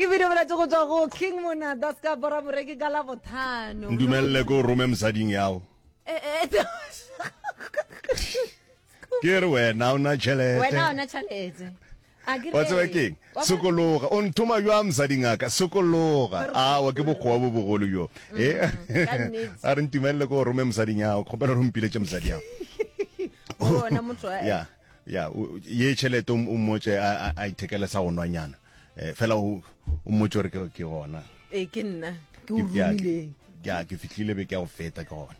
Ke video bolatše go tšwa go King Monada ska bora moreki ka Labohlano. Ndumelele ko rome mosading yago. Eh, eh, Ke re wena o na tšhelete. Wena o na tšhelete. A ke Wa tseba keng? Sokologa. O nthoma bjang mosading a ka? Sokologa. Awa ke bokgowa bo bogolo bjo. Eh. Mm, ka nnete. A re ntumelele ko rome mosading yago. Kgopela gore o mpiletše mosadi yago. Bona motho a. Ya. Ya, ye tšhelete o mmotše a a ithekele sa go nwanyana. Eh, fela o o mmotše gore ke ke gona. Ee, ke nna ke o romileng. Ya, ke fihlile be ke ya go feta ke gona.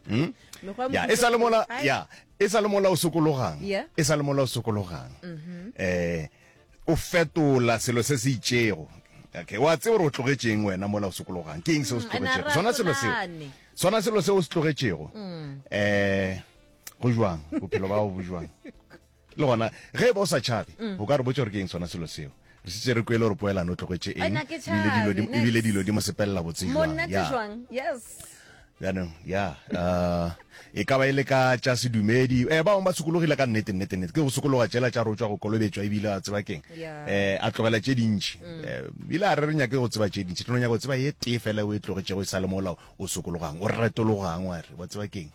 Hmm? Ya, e sa le mola, ya, e sa le mola o sokologang. E sa le mola o sokologang. Mhm. Eh, o fetola selo se se itšego. Okay, wa tseba gore o tlogetšeng wena mola o sokologang. Ke eng se o se mm, tlogetšego? Sona selo seo. Sona selo seo o se tlogetšego. Mm. Eh, go jwang bophelo ba gago bo jwang le gona ge e ba o sa tšhabe mm. o ka re botsa gore ke eng sona selo seo re setse re kwele gore poelano o tlogetse eng ebile dilo di mo sepelela botse jwang jaanong ya uh, e ka ba e le ka tša sedumedi eh ba bangwe ba sokologile ka nnete nnete nnete ke go sokologa tšela tša rotswa go kolobetšwa ebile a tseba keng eh a tlogela tše dintši mm. eh, ebile a re re nyake go tseba tše dintši re no nyaka go tseba ye tee fela o e tlogetšego e sa le mola o sokologang o retologang wa re wa tseba keng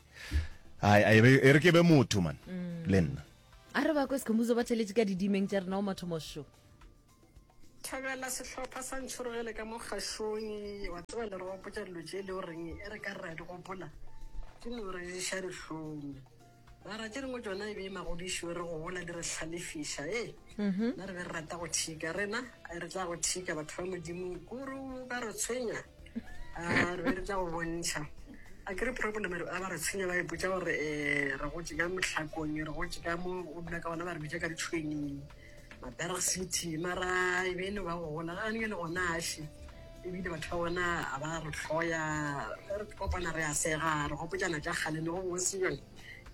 Ai, ai, e re ke be motho man mm. le nna. A re ba kwe Skhumbuzo ba theletše ka didimeng tša rena o mathomo sho. Thabela sehlopha sa ntšhorogele ka mo kgašong wa tseba le re gopotša dilo tše e le goreng e re ka re ra di gopola di no re ješa dihlong mara tše dingwe tšona e be e magodišo re gola di re hlalefiša e mhm. nna re be re rata go thika rena re tla go thika batho ba modimo kuru ba re tshwenya a re be re tla go bontšha a ke re problem a ba re tshwenya ba ipotša gore um re gotse ka mohlakong re gotse ka mo o dula ka gona ba re bitša ka ditšhwenyeng maberg city mara e be e no ba go gola ga ne le gona aše ebile batho ba bona a ba re hloya re kopana re a sega re gopotšana tša kgale ne go bose jone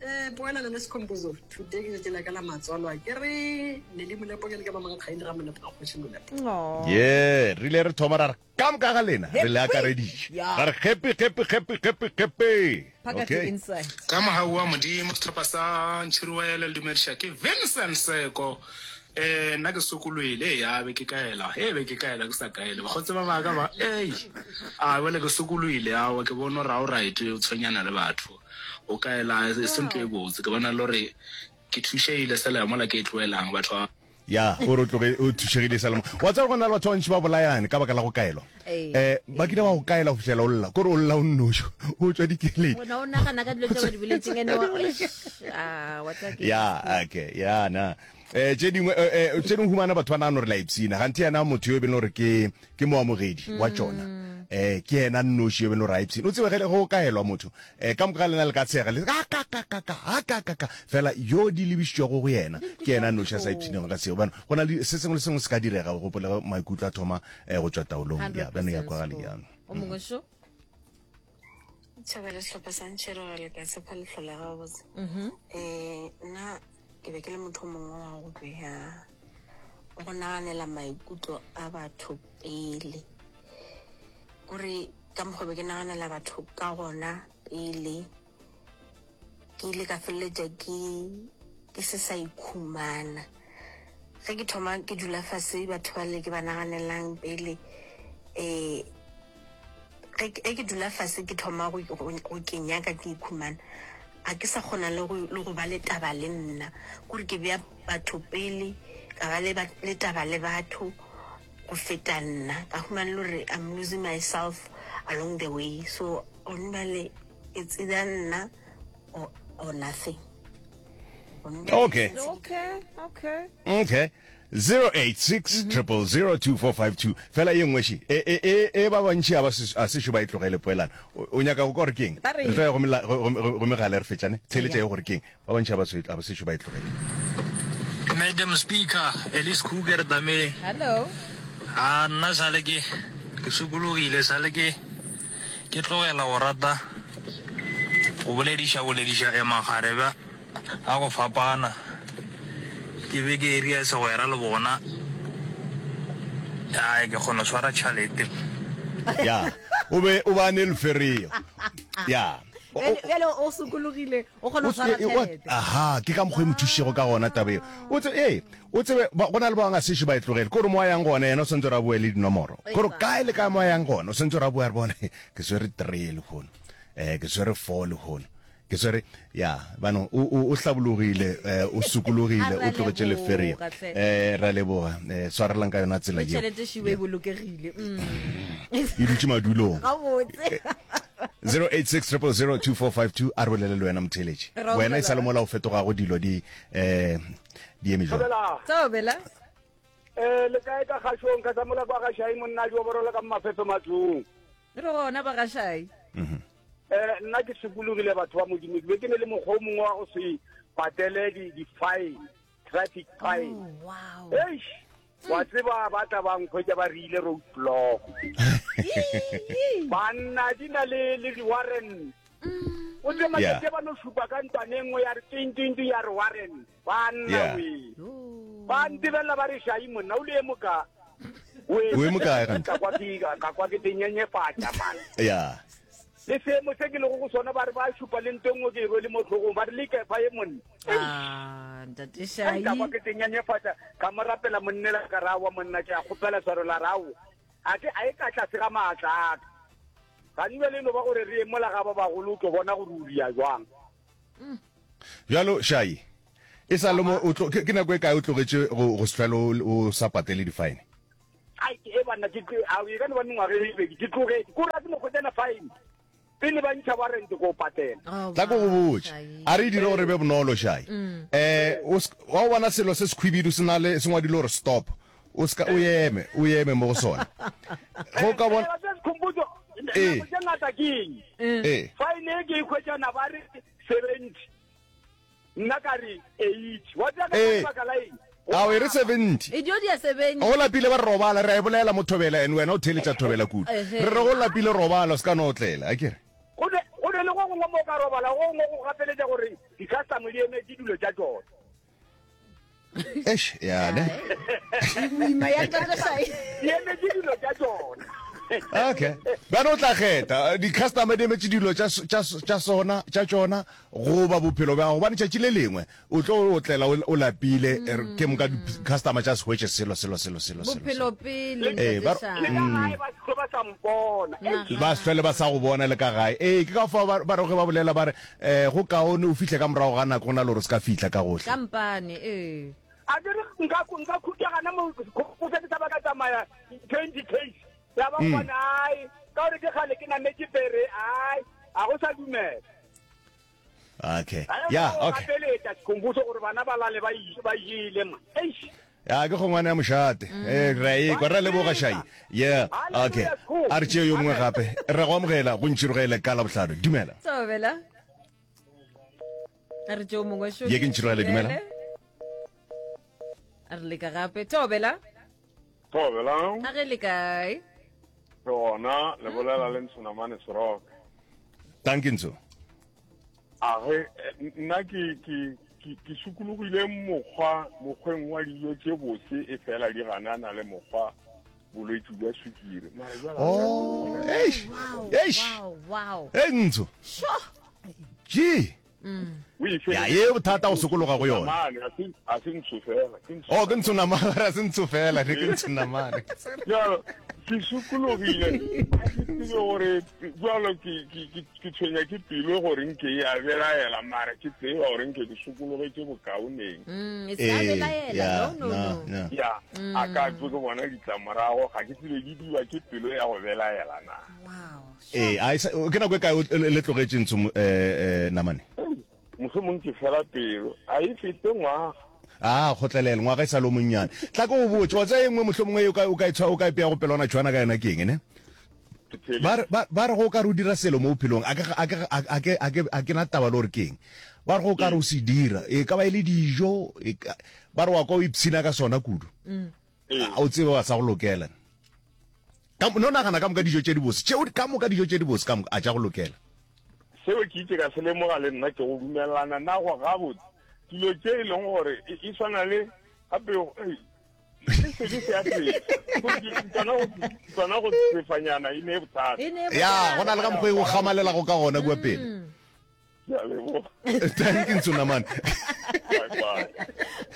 um poelano le sekhomposo today ke letšatši la ka la matswalo a ke re ne le molepo ke le ka ba mankgaile ga molepo ga kgoši molepo ye re ile re thoma ra re ka moka ga lena re le akareditše ra re gepe gepe gepe gepe gepe okay Ka mogau wa Modimo, sehlopha sa Ntšhiriwele le dumediša ke Vincent Seko. Eh, nna ke sokolwele, ee, a be ke kaela, ee, be ke kaela ke sa kaele. Bakgotsi ba baka ba, ei, a bjale ke sokolwele, aowa ke bone gore ga o right o tshwenyana le batho. O kaela e se ntho e botse, ke bona le gore ke thušegile sela mola ke e tloelang batho ba. Ya, o re o tloge o thušegile sela mo. Wa tseba go na le batho ba bantši ba bolayane ka baka la go kaelwa. Eh, ba kile ba go kaela go fihlela o lla, kore o lla o nnoši, o tšwa dikeledi. Wena o nagana ka dilo tše ba di boletseng ene wa ah, wa tseba ke. Ya, okay, ya na. Eh, tše dingwe eh, eh, tše dingwe humana batho ba nagana gore la ipshina, ganthe yena motho yo e beng gore ke ke moamogedi wa tšona eh ke yena nnoši yo e beng gore a ipshina. O tsebe ge go kaelwa motho eh ka moka ga lena le ka tshega le ka ka ka ka ka a ka ka ka fela yo di lebišitšwego go yena ke yena nnoši a sa ipshinego ka seo. Bjano go na le se sengwe le sengwe se ka direga, o gopole ge maikutlo a thoma eh go tšwa taolong. Ya bjano ya kwagale jang. O mongwe šo. Tšhabela sehlopha sa Ntšhirogele ka tshepa le hlola gabotse. Um nna ke be ke le motho o mongwe wa go bea go naganela maikutlo a batho pele kore ka mokgwa be ke naganela batho ka gona pele ke ile ka feleletša ke ke se sa ikhumana ge ke thoma ke dula fase batho ba le ke ba naganelang pele um ge ke dula fase ke thoma go ke nyaka ke ikhumana ga ke sa kgona le go ba le taba le nna kore ke bea batho pele ka ba le taba le batho go feta nna ka humana le gore I'm losing myself along the way so gone bjale it's either nna or, or nothing okay okay okay okay 086 000 2452 fela ye nngwe še e e e e ba bantši a ba a sešo ba e tlogele poelano o nyaka go kwa gore keng re tlo ya go megala re fetšane theletša ye gore keng ba bantši a ba a ba sešo ba e tlogele Madam Speaker, Elise Kruger Dameng. Hello. A nna sale ke ke sokologile sale ke ke tlogela go rata go bolediša bolediša e makgarebe a go fapana ke be ke eria segwera le bona ai ke kgona swara tšhalete ya o be o ba ne lefereo ya. Bjale o sokologile, o kgona go swara tšhelete. Aha, ke ka mokgwa e mo thušitšego ka gona taba eo. O tse, ee, o tsebe, go na le ba bangwe a sešo ba e tlogele. Ke gore mo a yang gona, yena o swanetše gore a boe le dinomoro. Ke gore kae le kae mo a yang gona, o swanetše gore a boe a re bone, ke swere three lehono, um ke swere four lehono. Ke swere, ya, bano, o, o, o hlabologile, eh, o sokologile, o tlogetše lefereyo. Eh, ra leboga. Eh, swarelang ka yona tsela yeo. Tšhelete šiwe e bolokegile. Mm. E dutše madulong. Gabotse. 086 000 2452 a re bolele le wena motheeletši. Wena e sa le mola o fetogago dilo di eh di eme jwang? Thobela. Eh le kae ka kgašong ka tsamola kwa gašai monna jo borola ka mafefe matlong. Re gona ba gašai. Mhm. Eh nna ke sokologile batho ba modimo ke be ke ne le mokgwa o mongwe wa go se patele di di fine traffic fine. Oh, wow. Eish wa tseba ba tla ba nkhwetša ba re ile road block. Banna di na le le di warrant. O tse matšatši ba no šupa ka ntlwane e nngwe ya re ting ting ting ya re warrant. Banna Yeah. we. Ba ntebelela ba re shai monna o le e moka. O e mokae gantsi? Ka kwa ke ka kwa ke tenyenyefatša man. ya Le seemo se ke lego go sona ba re ba šupa le nto e nngwe ke e rwele mo hlogong ba re le kefa ye monna. Ah, ntate Ai, Shai. ka kwa ke tenyenyefatša ka mo rapela monnela ka ra wa monna ke a kgopela swaro la rao. A ke a e ka tlase ga maatla a ka. Gane bjale e no ba gore re ye mola ga ba bagolo o tlo bona gore o ria jwang. Bjalo, Shai, e sa le mo o tlo, ke, ke nako e kae o tlogetše go, go se hlwele o, o sa patele di-fine? Ai, ke e banna, ke, ke, a e ka no ba mengwaga e mebedi, ke tlogetše. Ko ra ke no hwetšana fine. Pele ba ntšha warrant ko patela. Oh, Tla ko go wow, botše. Shai. A re e dire gore e be bonolo, Shai. Eh, o se, wa o bona selo se sekhwibidu se na le, se ngwadilwe gore stop. O se ka, o eme, o eme mo go sona. Ge o ka bona, Eh, se sekhomputo, Ee. nako tše ngata ke eng? ee. Fine e ke e hwetšana ba re 70. Nna ka re 80. Wa tseba ka Ee. lebaka la eng? Ao, e re 70. E dio dia 70. Go lapile ba re robala, re a e bolela mo Thobela and wena o theeletša Thobela kudu. Ehe. Re re go lapile robala, o se ka no otlela, a ke re? Go ne go ne le go gongwe mo o ka robala, go gongwe go gapeletša gore di-customer di emetše dilo tša tšona. Eish, ya ne. Boima ya ntate Shai. Di emetše dilo tša tšona. Okay. Bjale o tla kgetha, di-customer di emetše dilo tša, tša, tša sona, tša tšona, goba bophelo bja gago. Gobane tšatši le lengwe o tlo otlela o, o lapile, mm. ke moka di-customer tša se hwetše selo, selo, selo, selo, selo. Bophelo pele, Ee, ba- ntate Shai. Le ka gae ba se ba sa mpona. Eish. Ba se hlwele ba sa go bona le ka gae. Ee, ke ka fao ba, ba re ge ba bolela ba re, um go kaone o fihle ka morago ga nako go na le gore o se ka fihla ka gohle. Ka mpane, ee. A ke re nka nka khutša gana mo go se ke sa ba ka tsamaya 20 case ya ba Mm. bona ai ka gore ke kgale ke nametše pere ai a go sa dumela Okay. Ai, Ya, go okay. gapeletša sekhompuso gore bana ba lale ba i- ba jele ma eish Ya ke kgongwane ya mošate. Eh re a ekwa, re a leboga Shai. Yeah, okay. A re tšee yo mongwe gape. Re go amogela go ntšhirogele ka Labohlano. Dumela. Thobela. A re tšeo mongwe šo. Ye ke Ntšhirogele, dumela. A re leka gape. Thobela. Thobela. A ge le kae? Re gona, le bolela le Ntshonamane Seroke. Thank you Ntsho. A ge nna ke ke ke ke sokologile mokgwa mokgweng wa dijo tše bose e fela di ganana le mokgwa bolwetši bja sukiri. Mara jwale Oh, eish. Eish. Wow, wow. Hey Ntsho. Sure. Gee. Mm. Ya ye bothata go sokologa go yona. A se ntsho fela. Oh, ke ntsho namane, a se ntsho fela, ke ntsho namane. Jalo, ke sokologile. Ga ke tsebe gore jalo ke ke ke tshwenya ke pelo gore nke ya belaela mara ke tseba gore nke ke sokologetše bokaoneng. Mm, e sa belaela. No, no, no. Ya, a ka tlo ke bona ditlamorago, ga ke tsebe di diwa ke pelo ya go belaela na. Wow. Ee, a e sa, ke nako e kae o- le tlogetše ntsho eh, eh, namane? Mohlomong ke fela pelo, a e fete ngwaga. A kgotlelele, ngwaga e sa le o monnyane. Tla ke go botše, wa tseba e nngwe mohlomongwe e o ka, o ka e tshwa, o ka e pea go pelwana tšhwana ka yona ke eng, ne? Ke theeletše. Ba re, ba, ba re go o ka re o dira selo mo bophelong, a ke, a ke, a ke, a ke, a ke na taba le gore ke eng. Ba re go o ka re o se dira, e ka ba e le dijo, e ka, ba re wa kwa o ipshina ka sona kudu. A o tsebe wa sa go lokela. Ka, no nagana ka moka dijo tše dibose, tšeo ka moka dijo tše dibose ka moka, a tša go lokela. Seo ke itše ka se lemoga le nna, ke go dumelelana nago gabotse. Dilo tše e leng gore e, e swana le gape, ei, le sebe se a sefa. Tsona go, tsona go sefanyana e ne e bothata. E ne e Ya, go na le ka mokgwa e o gamalelago ka gona kua pele. Mm. Ke a leboga. Thank you Ntsunamane. Bye bye.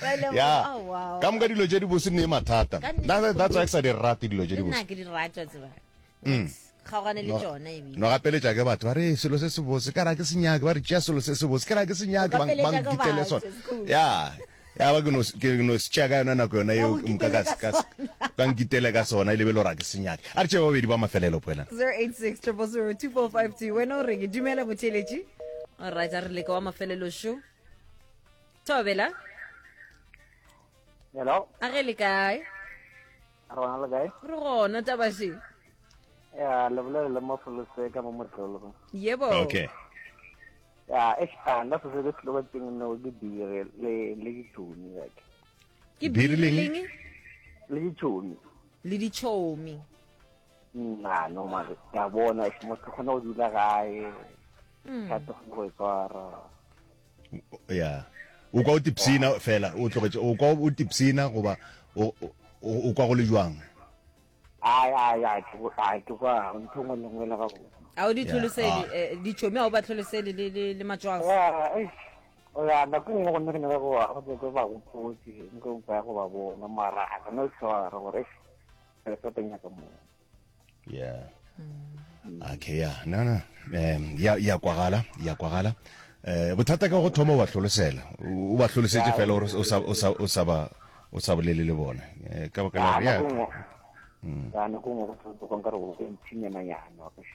Ba leboga. Ya. Oh, wow. Ka moka dilo tše di bose ne mathata. Ka nnete. That, that's why ke sa di rate dilo tše di Le nna bose. ke di rata tseba. Mm. Kgaogane le tšona ebile. No gapeletša ke batho ba re selo se se bose ka ra ke se nyake ba re tšea selo se se bose ka ra ke se nyake ba gapeletša ba ke nkitele batho, sona. it's cool. Ya. Ya ba ke no ke no se tšea ka yona nako yona eo Ba go nka ka kitele ka ka ka nkitele ka sona e lebe le gore a ke se nyake. A re tšee babedi ba mafelelo poelana. 086 000 2452 wena o reng dumela motheeletši alright a re leka wa mafelelo šo thobela Hello, a ge le kae re gona le kae? re gona tabaše Ya, le bolela le Mafolose ka mo Motlolo. yebo Okay. Ya, eish, ah, nna se se ke se tlogetseng no ke biri le le ditšhomi like. ke Biri biri leng? leng Le ditšhomi. le ditšhomi Nna no mare ke a bona eish, motho kgona go dula gae. Mm. Ka tlo go e tshwara. Ya. O kwa o tipsina fela o tlogetše o kwa o tipsina goba o o o kwa go le jwang? Ai ai ai ke ai ke kwa ntho nngwe le nngwe le ga botse. a o di Yeah, tlholosele ah. eh, ditšhomi a o ba tlholosele le le le matswalo Ya, eish. Ya, nako e nngwe go nne ke nyaka go go ke ke ba gopotse, nko ba go ba bona mara a ka no tshwara gore eish, ke sa nyaka mo. Yeah. Okay, ya. No no. Um ya ya kwagala, ya kwagala. Eh bothata ke go thoma o ba hlolosela. O ba hlolosetše fela gore o sa o sa o sa ba o sa bolele le bona. Eh ka baka la Ya, gore ya. nako e nngwe ya nako e nngwe go go nkare go mphinyana nyana.